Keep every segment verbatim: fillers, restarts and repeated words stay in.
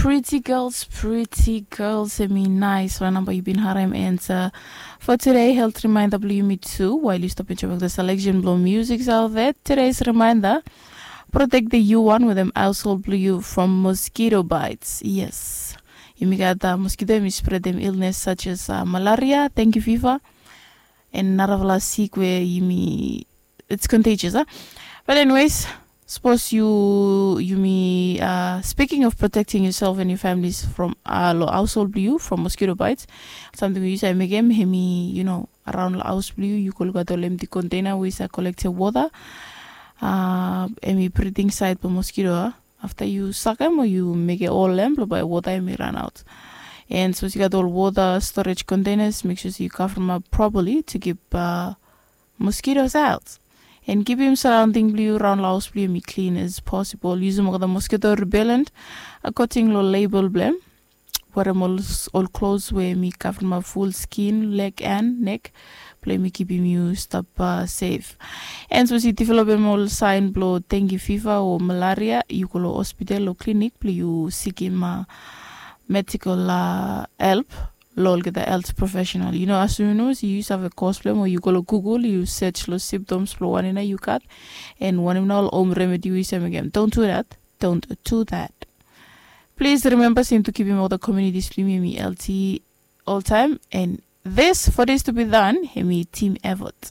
Pretty girls, pretty girls, hemi nais wan namba yu bin harem. And uh, for today, health reminder blong yumi tu, while yu stop enjoy the selection blong music salvet, today's reminder, protect the u one with them household blong yu from mosquito bites. Yes, yumi gat uh, mosquito, yumi spread them illness such as uh, malaria, dengue fever, and narafala sik we yumi, it's contagious, huh? But anyways, suppose you you may uh, speaking of protecting yourself and your families from uh, lo household blong yu from mosquito bites, something we yu save mekem, hemi, you know, around lo house blong yu, yu go lukaot ol empty container we yu save collect water. Uh, hemi breeding site blong mosquito, uh, after yu sakem o yu mekem ol em blong bae water hemi run out. And suppose yu gat ol water storage containers, make sure sey yu cover them up properly to keep uh, mosquitoes out. And kipim surrounding blong yu, raon lo haos blong yu, hemi clean as possible. Yusum olgeta mosquito repellent according lo label blong hem. Werem ol, ol klos we hemi kavremap ful skin, leg and neck, blong hemi kipim yu stap uh, safe. And sapos yu developem ol sign blong dengue fever o malaria, yu go lo hospital o klinik blong yu sikim uh, medical uh, help lo olgeta health professional. Yu no, as soon as yu save cause blong hem o yu go lo Google, yu search lo symptoms blong wanem nao yu gat, and wanem nao ol home remedy we yu save mekem. Don't do that. Don't do that. Please remember sey yumi tu kipim olgeta communities blong yumi hemi healthy oltaem, and this, for this to be done, hemi team effort.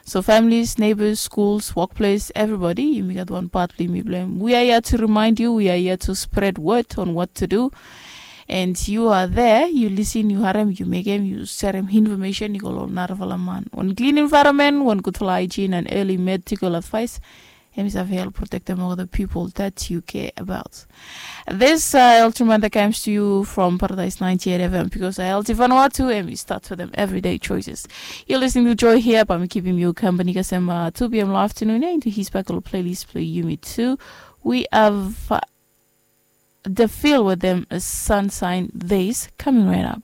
So families, neighbors, schools, workplace, everybody, yumi gat wan part blong yumi blong hem. We are here to remind you, we are here to spread word on what to do. And you are there, yu lisin, yu harem, yu mekem, yu serem information i go lo narafala man. Wan clean environment, wan gudfala hygiene and early medical advice, hemi save help protektem olgeta pipol that you care about. This uh, health reminder comes to you from Paradise ninety-eight F M, because healthy Vanuatu, hemi start with them everyday choices. You're listening to Joy here, bae mi kipim yu kampani kasem uh, two p.m. lo afternoon, into his back lo playlist blong yumi tu. We have uh, The Feel with them, uh, Sunshine Days, coming right up.